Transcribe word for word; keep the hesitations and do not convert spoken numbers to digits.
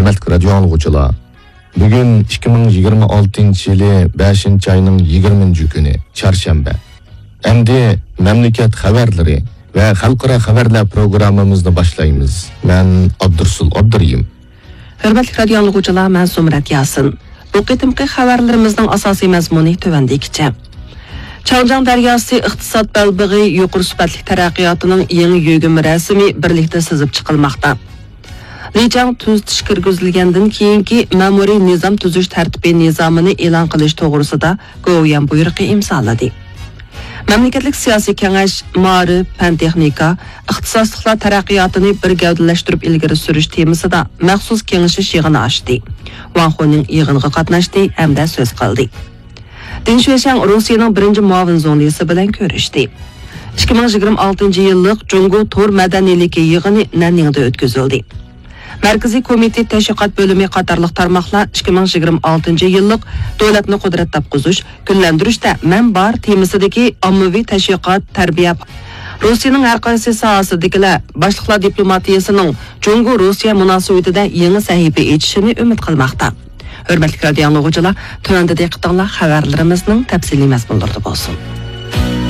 ھۆرمەتلىك رادىيو ئاڭلىغۇچىلار، بۈگۈن ئىككى مىڭ يىگىرمە ئالتىنچى يىلى بەشىنچى ئاينىڭ يىگىرمىنچى كۈنى، چارشەنبە. ئەمدى مەملىكەت خەۋەرلىرى ۋە خەلقئارا خەۋەرلەر پروگراممىمىزنى باشلايمىز. مەن ئابدۇرسۇل ئابدۇرېھىم. ھۆرمەتلىك رادىيو ئاڭلىغۇچىلار، مەن زۇمرەت ياسىن. بۇ قېتىمقى خەۋەرلىرىمىزنىڭ ئاساسىي مەزمۇنى تۆۋەندىكىچە. چاڭجياڭ دەرياسى ئىقتىساد بەلبېغى يۇقىرى سۈپەتلىك تەرەققىياتىنىڭ يېڭى يۆگىمە رەسىمى بىرلىكتە سىزىپ چىقىلماقتا. لىجاڭ تۈزىتىش كىرگۈزۈلگەندىن كېيىنكى مەمۇرىي نىزام تۈزۈش تەرتىپى نىزامىنى ئېلان قىلىش توغرىسىدا گوۋۇيۈەن بۇيرۇقى ئىمزالىدى. مەملىكەتلىك سىياسىي كېڭەش مائارىپ، پەن-تېخنىكا، ئىختىساسلىقلار تەرەققىياتىنى بىر گەۋدىلەشتۈرۈپ ئىلگىرى سۈرۈش تېمىسىدا مەخسۇس كېڭىشىش يىغىنى ئاچتى. ۋاڭ خۇنىڭ يىغىنغا قاتناشتى ھەمدە سۆز قىلدى. دىن شۈەشەڭ روسىيەنىڭ بىرىنچى مۇئاۋىن زۇڭلىسى بىلەن كۆرۈشتى. ئىككى مىڭ يىگىرمە ئالتىنچى يىللىق جۇڭگو تور مەدەنىيلىكى يىغىنى نەننىڭدە ئۆتكۈزۈلدى. مەركىزىي كومىتېت تەشۋىقات بۆلۈمى قاتارلىق تارماقلار ئىككى مىڭ يىگىرمە ئالتىنچى يىللىق دۆلەتنى قۇدرەت تاپقۇزۇش، گۈللەندۈرۈشتە مەن بار تېمىسىدىكى ئاممىۋى تەشۋىقات، تەربىيە، روسىيەنىڭ ھەر قايسى ساھەسىدىكىلەر باشلىقلار دىپلوماتىيىسىنىڭ جۇڭگو روسىيە مۇناسىۋىتىدە يېڭى سەھىپە ئېچىشىنى ئۈمىد قىلماقتا. ھۆرمەتلىك رادىيو ئاڭلىغۇچىلار، تۆۋەندە دىققىتىڭلار خەۋەرلىرىمىزنىڭ تەپسىلىي مەزمۇنلىرىدا بولسۇن.